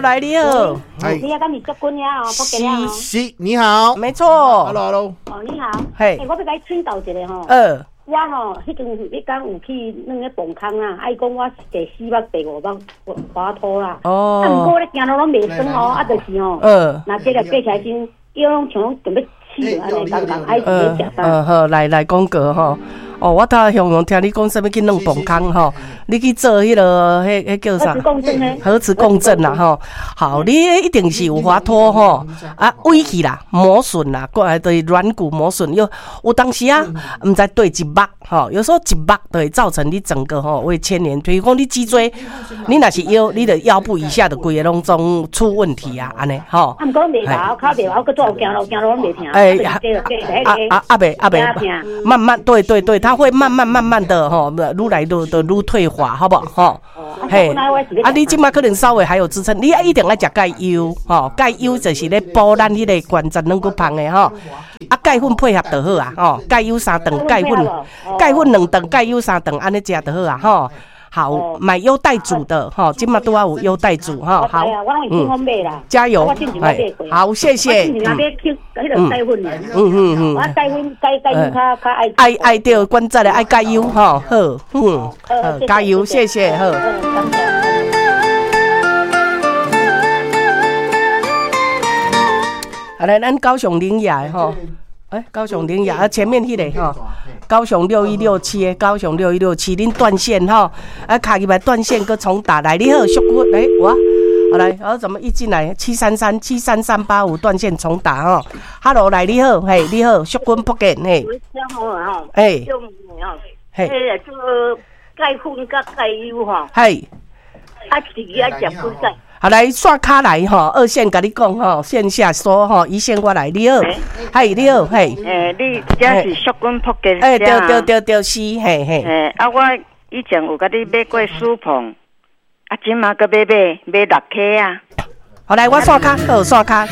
來你好。哎，你啊，敢是淑君呀？哦，福建哦。是，你好。沒錯。 Hello，Hello。哦，你好。嘿。我欲共你請教一下吼。我吼，彼陣彼工有去軟彼磅空啊，啊伊講我是第四目、第五目滑脫啦。哦。啊，毋過咧行路攏袂酸吼，啊，就是吼。若這個爬起來時，腰攏像講準備死按呢感覺，愛是咧食啥？好，來來講過吼。哦，我頭雄雄聽你講啥物去軟磅空吼，你去做彼个，彼叫啥？核磁共振啦吼。好，你一定是有滑脫吼，啊，歪去啦，磨損啦，過來就是軟骨磨損。有有當時啊，毋知對一目吼，有時候一目就會造成你整個吼會牽連。比如講你脊椎，你若是腰，你的腰部以下的規个攏總出問題啊，按呢吼。啊，毋過袂老，較袂老，閣做行路行路攏袂疼。欸，啊啊啊袂啊袂，慢慢對對對，它會慢慢慢慢的吼，愈來愈的愈退化，好無吼？嘿，啊，你這馬可能稍微還有支撐，你一定愛食鈣優吼，鈣優就是咧補咱彼個關節軟骨芳的吼。啊，鈣粉配合就好啊，吼，鈣優三頓，鈣粉，鈣粉兩頓，鈣優三頓，按呢食就好啊，吼。好，買優代組的吼，這馬拄仔有優代組吼，好，加油，哎，好，謝謝。我鈣粉鈣鈣優較較愛。愛愛著關節的愛鈣優吼，好，嗯，好，加油，謝謝，好。好來，咱高雄苓雅吼，欸，高雄苓雅啊，前面彼个吼，高雄6167的，高雄六一六七，恁斷線吼，啊，卡入來斷線，閣重打來，你好，淑君，欸，我，好來，我怎麼一進來73373385斷線重打吼，Hello，來你好，嘿，你好，淑君福建嘿，欸，嘿，這個鈣粉佮鈣優吼，嘿，啊，自己愛食幾擺？好來刷卡來吼，二線共你講吼，線下說吼，一線我來，你好，嘿，你好，嘿，欸，你這是淑君福建？欸，對對對對是，嘿嘿。欸，啊，我以前有共你買過舒膨，啊，這馬閣買買買六顆啊。好來，我刷卡，好刷卡。